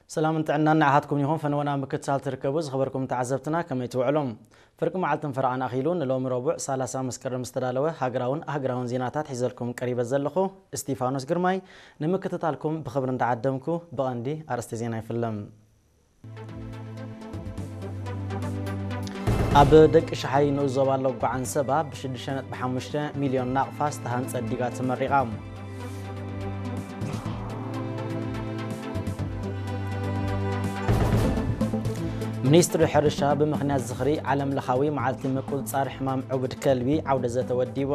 ሰላምን ጥዕናን ንዓኻትኩም ይኹን። ፈነወና ምክትታል ትርከቡ ዝኸበርኩም ተዓዘብትና፣ ከመይ ትውዕሉ? ፍርቂ መዓልትን ፈረቓን ኣኺሉ ንሎሚ ረቡዕ ሰላሳ መስከረም ዝተዳለወ ሃገራውን ኣህጉራውን ዜናታት ሒዘልኩም ቀሪበ ዘለኹ እስቲፋኖስ ግርማይ። ንምክትታልኩም ብኽብሪ እንዳዓደምኩ፣ ብቐንዲ ኣርእስቲ ዜና ይፍለም። ኣብ ደቂ ሸሓይ ንኡስ ዞባ ሎጓ ዓንሰባ ብሽዱሽተ ነጥቢ ሓሙሽተ ሚልዮን ናቕፋ ዝተሃንጸት ዲጋ ተመሪቓ። ሚኒስትሪ ሕርሻ ብምኽንያት ዝኽሪ ዓለም ለኻዊ መዓልቲ ምቁጽጻር ሕማም ዕቡድ ከልቢ ዓውደ ዘተ ወዲቡ።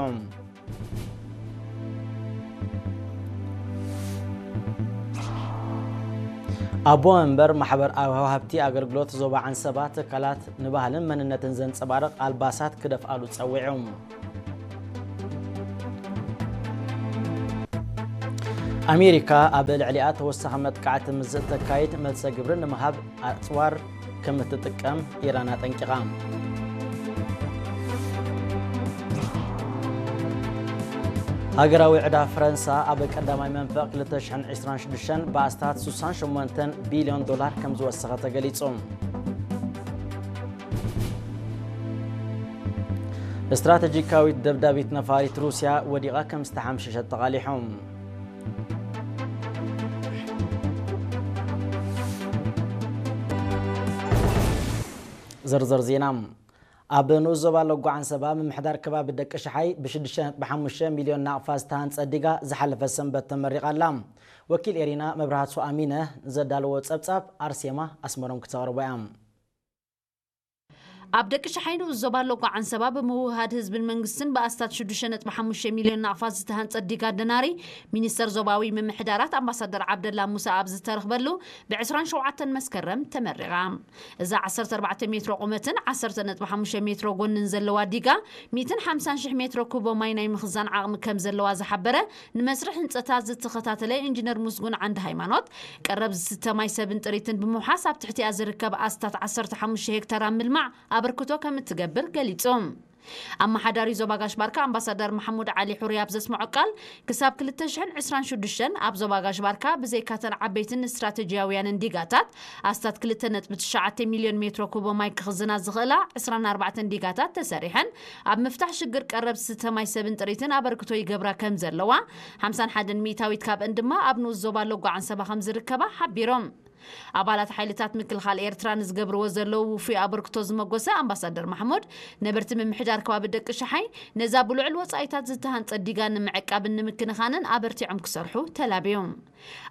ኣቦ መንበር ማሕበር ኣውሃብ ሃብቲ ኣገልግሎት ዞባ ዓንሰባ፣ ትካላት ንባህልን መንነትን ዘንጸባርቕ ኣልባሳት ክደፍኣሉ ጸዊዑ። ኣሜሪካ ኣብ ልዕሊኣ ተወሳኺ መጥቃዕቲ ምስ እተካይድ፣ መልሰ ግብሪ ንምሃብ ኣጽዋር ከም እትጥቀም ኢራን ኣጠንቂቓ። ሃገራዊ ዕዳ ፈረንሳ ኣብ ቀዳማይ መንፈቕ ክልተ ሽሕን ዕስራን ሽዱሽተን ብኣስታት ስሳን ሸሞንተን ቢልዮን ዶላር ከም ዝወሰኸ ተገሊጹ። ስትራተጂካዊት ደብዳቢት ነፋሪት ሩስያ ወዲቓ ከም ዝተሓምሸሸት ተቓሊሑ። ዝርዝር ዜና። ኣብ ንኡስ ዞባ ሎጓ ዓንሰባ ምምሕዳር ከባቢ ደቂ ሸሓይ ብሽዱሽተ ነጥቢ ሓሙሽተ ሚልዮን ናቕፋ ዝተሃንጸ ዲጋ ዝሓለፈ ሰንበት ተመሪቓ ኣላ። ወኪል ኤሪና መብራህቱ ኣሚነ ዘዳለዎ ጸብጻብ ኣርሴማ ኣስመሮም ክተቕርቦ እያ። ኣብ ደቂ ሸሓይ ንኡስ ዞባ ሎጓ ዓንሰባ ብምውህሃድ ህዝብን መንግስትን ብኣስታት ሽዱሽተ ነጥቢ ሓሙሽተ ሚልዮን ናቕፋ ዝተሃንጸ ዲጋ ደናሪ፣ ሚኒስተር ዞባዊ ምምሕዳራት ኣምባሳደር ዓብደላ ሙሳ ኣብ ዝተረኽበሉ ብዕስራን ሸውዓተን መስከረም ተመሪቓ። እዛ ዓሰርተ ኣርባዕተ ሜትሮ ቁመትን ዓሰርተ ነጥቢ ሓሙሽተ ሜትሮ ጎንን ዘለዋ ዲጋ፣ ሚእትን ሓምሳን ሽሕ ሜትሮ ኩቦ ማይ ናይ ምኽዛን ዓቕሚ ከም ዘለዋ ዝሓበረ ንመስርሕ ህንጸታ ዝተኸታተለ ኢንጂነር ሙስጉን ዓንደ ሃይማኖት፣ ቀረብ ዝስተ ማይ ሰብን ጥሪትን ብምውሓስ ኣብ ትሕቲኣ ዝርከብ ኣስታት ዓሰርተ ሓሙሽተ ሄክታር ኣብ ምልማዕ ኣበርክቶ ከም እትገብር ገሊጹ። ኣመሓዳሪ ዞባ ጋሽ ባርካ ኣምባሳደር ማሕሙድ ዓሊ ሑሪ ኣብ ዘስምዖ ቃል፣ ክሳብ ክልተ ሽሕን ዕስራን ሽዱሽተን ኣብ ዞባ ጋሽ ባርካ ብዘይካተን ዓበይትን ስትራተጂያውያንን ዲጋታት ኣስታት ክልተ ነጥቢ ትሽዓተ ሚልዮን ሜትሮ ኩቦ ማይ ክኽዝና ዝኽእላ ዕስራን ኣርባዕተን ዲጋታት ተሰሪሐን፣ ኣብ ምፍታሕ ሽግር ቀረብ ዝስተ ማይ ሰብን ጥሪትን ኣበርክቶ ይገብራ ከም ዘለዋ፣ ሓምሳን ሓደን ሚእታዊት ካብአን ድማ ኣብ ንኡስ ዞባ ሎጓ ዓንሰባ ከም ዝርከባ ሓቢሮም። ኣባላት ሓይልታት ምክልኻል ኤርትራ ንዝገብርዎ ዘለዉ ውፉይ ኣበርክቶ ዝመጎሰ ኣምባሳደር ማሕሙድ፣ ነበርቲ ምምሕዳር ከባቢ ደቂ ሸሓይ ነዛ ብልዑል ወጻኢታት ዝተሃንጸት ዲጋ ንምዕቃብን ንምክንኻንን ኣበርቲዖም ክሰርሑ ተላብዮም።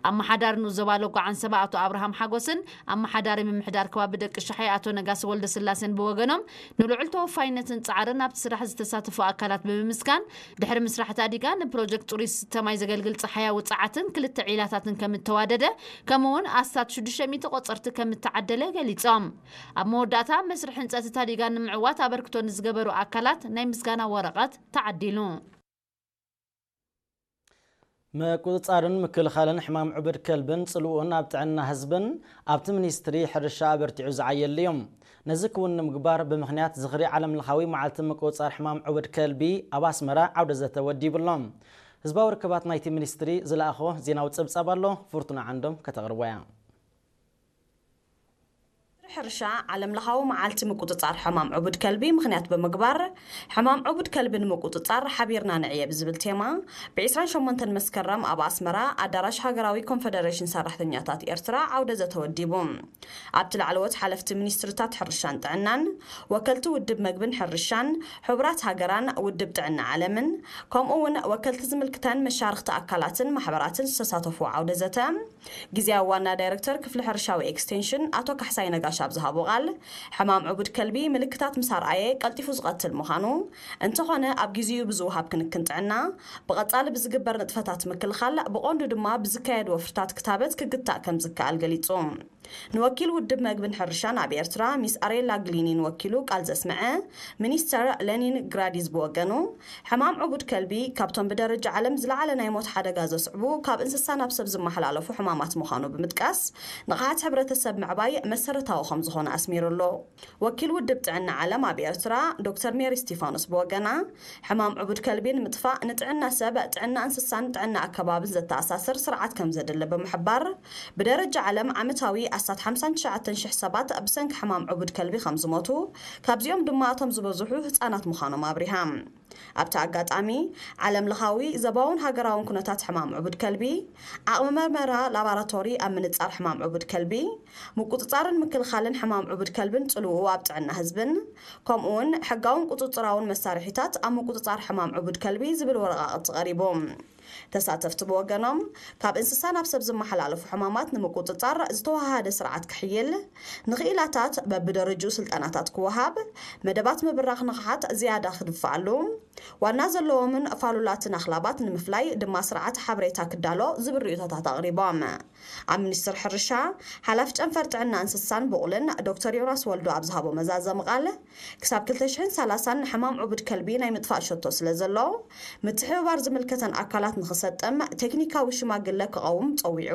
ኣመሓዳሪ ንኡስ ዞባ ሎጓ ዓንሰባ ኣቶ ኣብርሃም ሓጎስን ኣመሓዳሪ ምምሕዳር ከባቢ ደቂ ሸሓይ ኣቶ ነጋሲ ወልደስላሴን ብወገኖም፣ ንልዑል ተወፋይነትን ጻዕርን ኣብቲ ስራሕ ዝተሳተፉ ኣካላት ብምምስጋን፣ ድሕሪ ምስራሕ እታ ዲጋ ንፕሮጀክት ጽሩይ ዝስተ ማይ ዘገልግል ጸሓያዊ ጸዓትን ክልተ ዒላታትን ከም እተዋደደ፣ ከምኡ'ውን ኣስታት ሽዱሽተ ሚእቲ ቆጸርቲ ከም እተዓደለ ገሊጾም። ኣብ መወዳእታ፣ መስርሕ ህንጸት እታ ዲጋ ንምዕዋት ኣበርክቶ ንዝገበሩ ኣካላት ናይ ምስጋና ወረቐት ተዓዲሉ። ምቁጽጻርን ምክልኻልን ሕማም ዕቡድ ከልብን ጽልኡን ኣብ ጥዕና ህዝብን ኣብቲ ሚኒስትሪ ሕርሻ ኣበርቲዑ ዝዓየሉ እዩ። ነዚ ክውን ንምግባር ብምኽንያት ዝኽሪ ዓለምለኻዊ መዓልቲ ምቁጽጻር ሕማም ዕቡድ ከልቢ ኣብ ኣስመራ ዓውደ ዘተ ወዲቡ ኣሎ። ህዝባዊ ርክባት ናይቲ ሚኒስትሪ ዝለኣኾ ዜናዊ ጸብጻብ ኣሎ፣ ፍርቱና ዓንዶም ከተቕርቦ እያ። ሚኒስትሪ ሕርሻ ዓለምለኻዊ መዓልቲ ምቁጽጻር ሕማም ዕቡድ ከልቢ ምኽንያት ብምግባር፣ ሕማም ዕቡድ ከልቢ ንምቁጽጻር ሓቢርና ንዕየ ብዝብል ቴማ፣ ብ ዕስራን ሸሞንተን መስከረም ኣብ ኣስመራ ኣዳራሽ ሃገራዊ ኮንፈደሬሽን ሰራሕተኛታት ኤርትራ ዓውደ ዘተ ወዲቡ። ኣብቲ ላዕለዎት ሓለፍቲ ሚኒስትሪታት ሕርሻን ጥዕናን፣ ወከልቲ ውድብ መግብን ሕርሻን፣ ሕቡራት ሃገራን ውድብ ጥዕና ዓለምን፣ ከምኡ እውን ወከልቲ ዝምልክተን መሻርኽቲ ኣካላትን ማሕበራትን ዝተሳተፉ ዓውደ ዘተ፣ ግዝያዊ ዋና ዳይረክተር ክፍሊ ሕርሻዊ ኤክስቴንሽን ኣቶ ካሕሳይ ነጋሽ ኣብ ዝሃቦ ቃል፣ ሕማም ዕቡድ ከልቢ ምልክታት ምስ ኣርኣየ ቀልጢፉ ዝቐትል ምዃኑ፣ እንተኾነ ኣብ ግዜኡ ብዝወሃብ ክንክን ጥዕና፣ ብቐጻሊ ብዝግበር ንጥፈታት ምክልኻል፣ ብቐንዱ ድማ ብዝካየድ ወፍርታት ክታበት ክግታእ ከም ዝከኣል ገሊጹ። ንወኪል ውድብ መግብን ሕርሻን ኣብ ኤርትራ ሚስ ኣሬላ ግሊኒን ወኪሉ ቃል ዘስምዐ ሚኒስተር ሌኒን ግራዲዝ ብወገኑ፣ ሕማም ዕቡድ ከልቢ ካብቶም ብደረጃ ዓለም ዝለዓለ ናይ ሞት ሓደጋ ዘስዕቡ ካብ እንስሳ ናብ ሰብ ዝመሓላለፉ ሕማማት ምዃኑ ብምጥቃስ፣ ንቕሓት ሕብረተሰብ ምዕባይ መሰረታዊ ከም ዝኾነ ኣስሚሩ ኣሎ። ወኪል ውድብ ጥዕና ዓለም ኣብ ኤርትራ ዶክተር ሜሪ ስቲፋኖስ ብወገና፣ ሕማም ዕቡድ ከልቢ ንምጥፋእ ንጥዕና ሰብ፣ ጥዕና እንስሳን ጥዕና ኣከባብን ዘተኣሳስር ስርዓት ከም ዘድሊ ብምሕባር፣ ብደረጃ ዓለም ዓመታዊ ኣስታት ሓምሳን ትሽዓተን ሽሕ ሰባት ብሰንኪ ሕማም ዕቡድ ከልቢ ከም ዝሞቱ፣ ካብዚኦም ድማ እቶም ዝበዝሑ ህጻናት ምዃኖም ኣብሪሃ። ኣብቲ ኣጋጣሚ፣ ዓለም ለኻዊ፣ ዘባውን ሃገራውን ኩነታት ሕማም ዕቡድ ከልቢ፣ ዓቕሚ መርመራ ላባራቶሪ ኣብ ምንጻር ሕማም ዕቡድ ከልቢ፣ ምቁጽጻርን ምክልኻልን ሕማም ዕቡድ ከልብን ጽልውኡ ኣብ ጥዕና ህዝብን፣ ከምኡውን ሕጋውን ቁጽጽራውን መሳርሒታት ኣብ ምቁጽጻር ሕማም ዕቡድ ከልቢ ዝብል ወረቓቕቲ ቀሪቡ። ተሳተፍቲ ብወገኖም፣ ካብ እንስሳ ናብ ሰብ ዝመሓላለፉ ሕማማት ንምቁጽጻር ዝተወሃሃደ ስርዓት ክሕይል፣ ንኽኢላታት በብደረጅኡ ስልጠናታት ክወሃብ፣ መደባት ምብራኽ ንቕሓት ዝያዳ ክድፋኣሉ፣ ዋና ዘለዎምን ፋሉላትን ኣኽላባት ንምፍላይ ድማ ስርዓት ሓበሬታ ክዳሎ ዝብል ርእይቶታት ኣቕሪቦም። ኣብ ሚኒስቴር ሕርሻ፣ ሓላፊ ጨንፈር ጥዕና እንስሳን ብቑልን ዶክተር ዮናስ ወልዱ ኣብ ዝሃቦ መዛዘሚ ቃል፣ ክሳብ ክልተ ሽሕን ሰላሳን ንሕማም ዕቡድ ከልቢ ናይ ምጥፋእ ሸቶ ስለ ዘሎ፣ ምትሕብባር ዝምልከተን ኣካላት ንኽሰጥም ቴክኒካዊ ሽማግለ ክቐውም ጸዊዑ።